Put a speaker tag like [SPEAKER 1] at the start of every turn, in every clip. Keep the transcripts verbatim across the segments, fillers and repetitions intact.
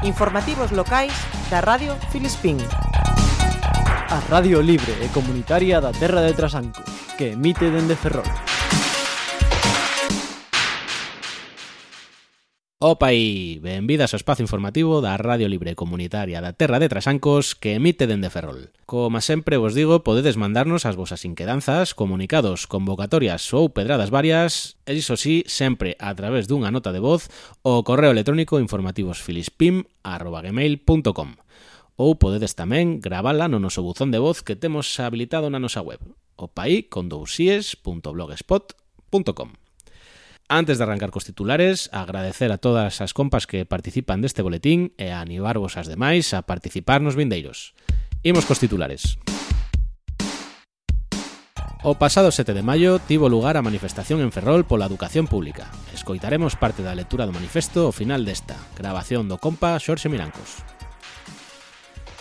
[SPEAKER 1] Informativos locais da Radio Filispín.
[SPEAKER 2] A Radio Libre e Comunitaria da Terra de Trasancos, que emite dende Ferrol.
[SPEAKER 3] Opa aí, benvidas ao espazo informativo da Radio Libre Comunitaria da Terra de Trasancos que emite dende Ferrol. Como sempre vos digo, podedes mandarnos as vosas inquedanzas, comunicados, convocatorias ou pedradas varias, e iso sí, sempre a través dunha nota de voz ao correo electrónico informativosfilispim arroba gmail punto com. Ou podedes tamén gravala no noso buzón de voz que temos habilitado na nosa web, opaí con dousies punto blogspot punto com. Antes de arrancar cos titulares, agradecer a todas as compas que participan deste boletín e a animarvos as demais a participar nos vindeiros. Imos cos titulares. O pasado sete de maio tivo lugar a manifestación en Ferrol pola educación pública. Escoitaremos parte da lectura do manifesto ao final desta, grabación do compa Xorxe Mirancos.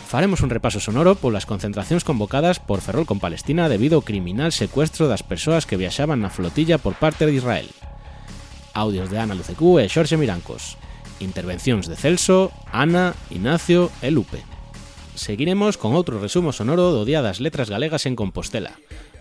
[SPEAKER 3] Faremos un repaso sonoro polas concentracións convocadas por Ferrol con Palestina debido ao criminal secuestro das persoas que viaxaban na flotilla por parte de Israel. Audios de Ana Lucecú e Xorxe Mirancos. Intervencións de Celso, Ana, Ignacio e Lupe. Seguiremos con outro resumo sonoro do Día das Letras Galegas en Compostela.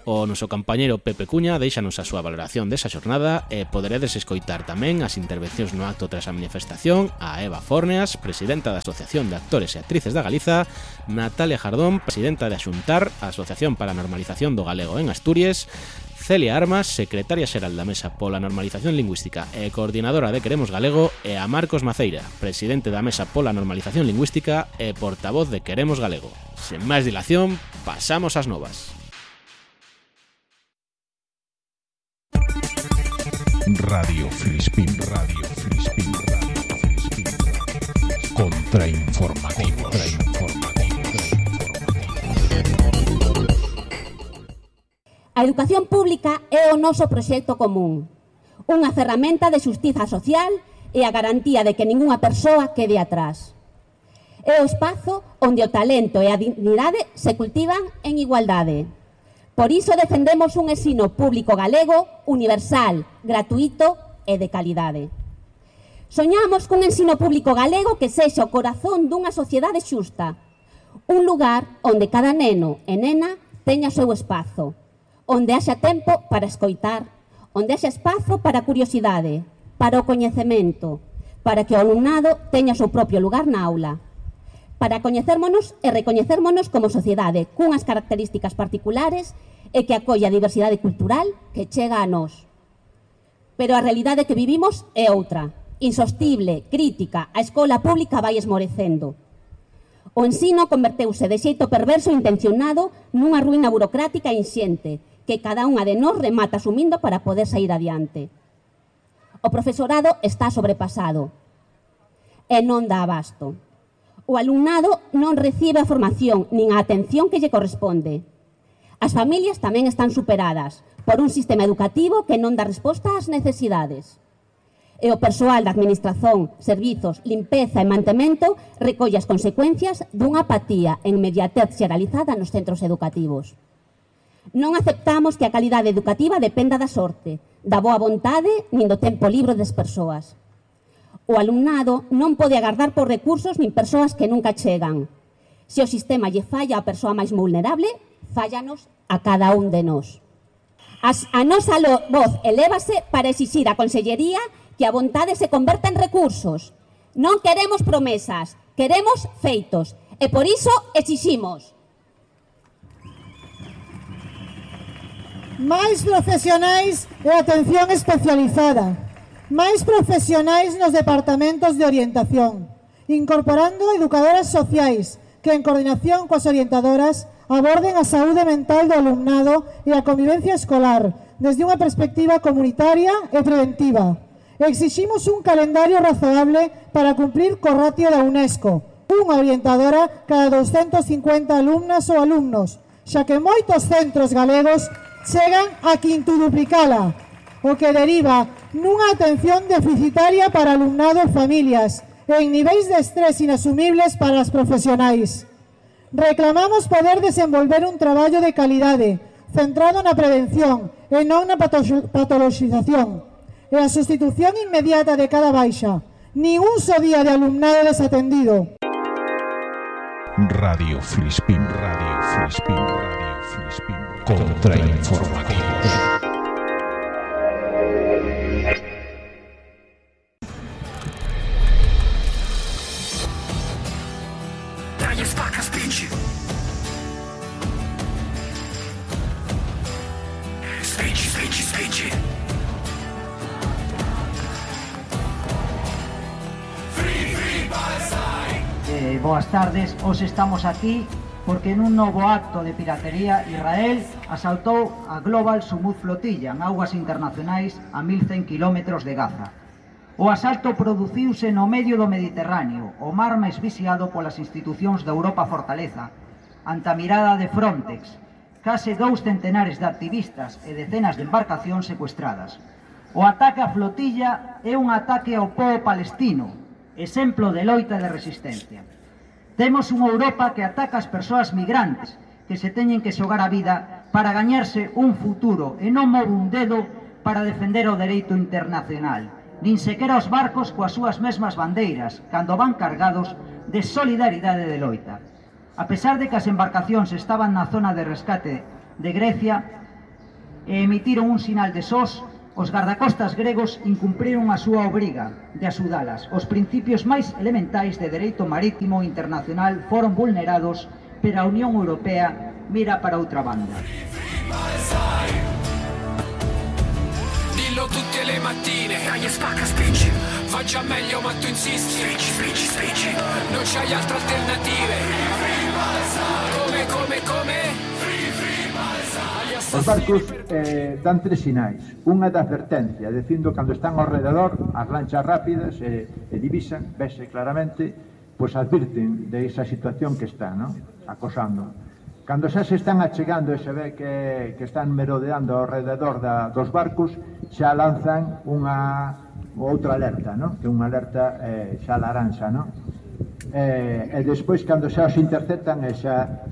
[SPEAKER 3] O noso compañeiro Pepe Cuña deixanos a súa valoración desa xornada e poderedes escoitar tamén as intervencións no acto tras a manifestación a Eva Forneas, presidenta da Asociación de Actores e Actrices da Galiza, Natalia Jardón, presidenta de Axuntar, a Asociación para a Normalización do Galego en Asturias, Celia Armas, secretaria xeral da Mesa pola Normalización Lingüística e coordinadora de Queremos Galego, e a Marcos Maceira, presidente da Mesa pola Normalización Lingüística e portavoz de Queremos Galego. Sen máis dilación, pasamos ás novas.
[SPEAKER 4] Radio Filispín, Radio Filispín, Radio Filispín. Contrainformativos.
[SPEAKER 5] A educación pública é o noso proxecto común, unha ferramenta de xustiza social e a garantía de que ningunha persoa quede atrás. É o espazo onde o talento e a dignidade se cultivan en igualdade. Por iso defendemos un ensino público galego, universal, gratuito e de calidade. Soñamos cun ensino público galego que sexa o corazón dunha sociedade xusta, un lugar onde cada neno e nena teña o seu espazo, onde haxa tempo para escoitar, onde haxa espazo para a curiosidade, para o coñecemento, para que o alumnado teña o seu propio lugar na aula, para coñecérmonos e recoñecérmonos como sociedade cunhas características particulares e que acolla a diversidade cultural que chega a nós. Pero a realidade que vivimos é outra, insostible, crítica, a escola pública vai esmorecendo. O ensino converteuse de xeito perverso e intencionado nunha ruína burocrática e inxente que cada unha de nós remata asumindo para poder sair adiante. O profesorado está sobrepasado e non dá abasto. O alumnado non recibe a formación nin a atención que lle corresponde. As familias tamén están superadas por un sistema educativo que non dá resposta ás necesidades. E o persoal da administración, servizos, limpeza e mantemento recolle as consecuencias dunha apatía e inmediatez xeralizada nos centros educativos. Non aceptamos que a calidade educativa dependa da sorte, da boa vontade nin do tempo libre das persoas. O alumnado non pode agardar por recursos nin persoas que nunca chegan. Se o sistema lle falla á persoa máis vulnerable, fállanos a cada un de nós. As, a nosa lo, voz elévase para exixir á Consellería que a vontade se converta en recursos. Non queremos promesas, queremos feitos. E por iso exiximos
[SPEAKER 6] máis profesionais e atención especializada, máis profesionais nos departamentos de orientación, incorporando educadoras sociais que en coordinación coas orientadoras aborden a saúde mental do alumnado e a convivencia escolar desde unha perspectiva comunitaria e preventiva. Exiximos un calendario razoable para cumprir co ratio da UNESCO, unha orientadora cada doscientas cincuenta alumnas ou alumnos, xa que moitos centros galegos chegan a quintuduplicala, o que deriva nunha atención deficitaria para alumnado e familias e en niveis de estrés inasumibles para as profesionais. Reclamamos poder desenvolver un traballo de calidade, centrado na prevención e non na patoloxización, e a sustitución inmediata de cada baixa, Ni un só día de alumnado desatendido.
[SPEAKER 4] Radio Filispín, Radio Filispín, Radio Filispín. Contrainformativos.
[SPEAKER 7] Eh, boas tardes, hoxe estamos aquí porque nun novo acto de piratería Israel asaltou a Global Sumud Flotilla en augas internacionais a mil cen kilómetros de Gaza. O asalto produciuse no medio do Mediterráneo, o mar máis vixiado polas institucións da Europa Fortaleza, ante a mirada de Frontex, case dous centenares de activistas e decenas de embarcacións secuestradas. O ataque á flotilla é un ataque ao pobo palestino, exemplo de loita de resistencia. Temos unha Europa que ataca as persoas migrantes que se teñen que xogar a vida para gañarse un futuro e non move un dedo para defender o dereito internacional, nin sequera os barcos coas súas mesmas bandeiras cando van cargados de solidaridade de loita. A pesar de que as embarcacións estaban na zona de rescate de Grecia e emitiron un sinal de S O S, os gardacostas gregos incumpriron a súa obriga de axudalas. Os principios máis elementais de dereito marítimo internacional foron vulnerados, pero a Unión Europea mira para outra banda.
[SPEAKER 8] Dillo tutte le mattine, dai spacca spingi, va già meglio ma tu insisti, spingi, spingi, spingi, non c'hai altre alternative, come, come, come?
[SPEAKER 9] Os barcos eh, dan tres sinais. Unha da advertencia, dicindo cando están ao rededor, as lanchas rápidas e, e divisan, vese claramente, pois advirten de esa situación que está, ¿no? Acosando. Cando xa se están achegando e se ve que, que están merodeando ao rededor da, dos barcos, xa lanzan unha outra alerta, ¿no? Que é unha alerta eh, xa laranxa, ¿no? Eh, e despois, cando xa os interceptan, e xa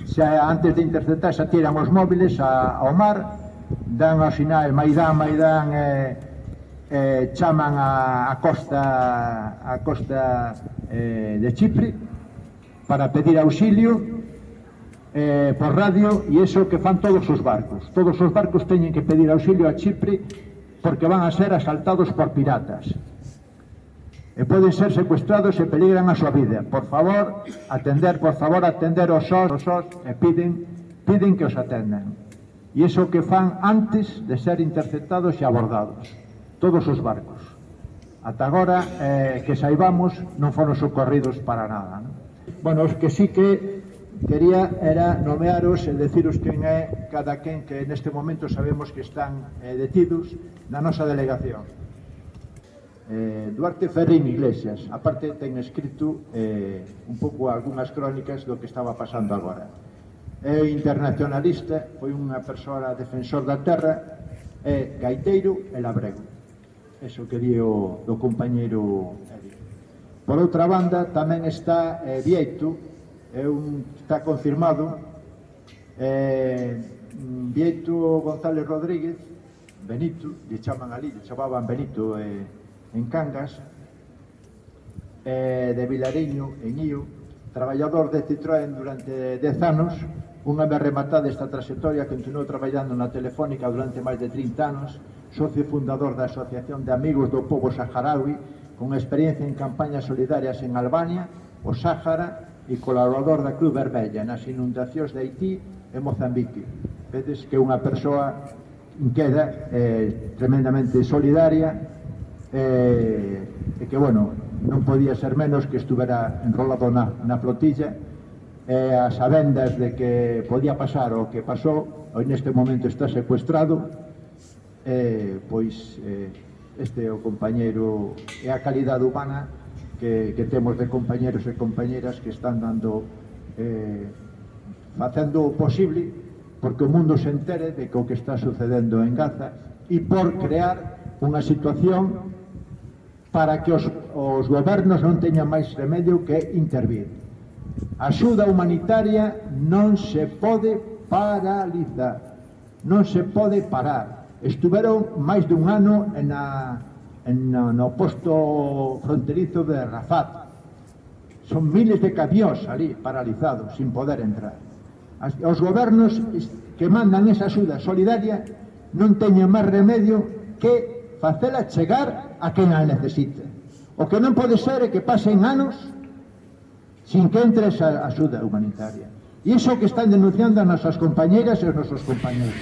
[SPEAKER 9] xa antes de interceptar xa tiran os móviles a, ao mar, dan o sinal Maidán, Maidán e, e chaman a, a costa a costa eh, de Chipre para pedir auxilio eh, por radio, e iso que fan todos os barcos. Todos os barcos teñen que pedir auxilio a Chipre porque van a ser asaltados por piratas e poden ser secuestrados e peligran a súa vida. Por favor, atender, por favor, atender os S O S, os S O S e piden, piden que os atendan. E iso que fan antes de ser interceptados e abordados. Todos os barcos. Ata agora, eh, que saibamos, non foron socorridos para nada, ¿no? Bueno, os que sí que quería era nomearos e deciros quen é cada quen que neste momento sabemos que están eh, detidos na nosa delegación. Eh, Duarte Ferrín Iglesias, aparte ten escrito eh, un pouco algunhas crónicas do que estaba pasando agora. É internacionalista, foi unha persoa defensor da terra, é gaiteiro e labrego. Eso que di o do compañeiro Eri. Por outra banda, tamén está eh, Vieito, é un, está confirmado, eh, Vieito González Rodríguez, Benito, lle chaman ali, lle chamaban Benito eh, en Cangas, eh, de Vilariño, en Ío, traballador de Citroën durante dez anos, unha vez rematada esta trayectoria, continuou traballando na Telefónica durante máis de trinta anos, socio fundador da Asociación de Amigos do Pobo Saharaui, con experiencia en campañas solidarias en Albania, o Sáhara, e colaborador da Cruz Vermella nas inundacións de Haití e Mozambique. Vedes que é unha persoa inqueda, eh, tremendamente solidaria, Eh, e que, bueno, non podía ser menos que estuvera enrolado na, na flotilla e as sabendas de que podía pasar o que pasou, hoy neste momento está secuestrado, eh, pois eh, este é o compañeiro e a calidade humana que, que temos de compañeros e compañeras que están dando eh, facendo o posible porque o mundo se entere de que o que está sucedendo en Gaza e por crear unha situación para que os, os gobernos non teñan máis remedio que intervir. A axuda humanitaria non se pode paralizar, non se pode parar. Estuveron máis dun ano na, no, no posto fronterizo de Rafat. Son miles de camións ali paralizados, sin poder entrar. As, os gobernos que mandan esa axuda solidaria non teñen máis remedio que facela chegar a quen a necesite. O que non pode ser é que pasen anos sin que entre esa axuda humanitaria. E iso que están denunciando as nosas compañeras e os nosos compañeros.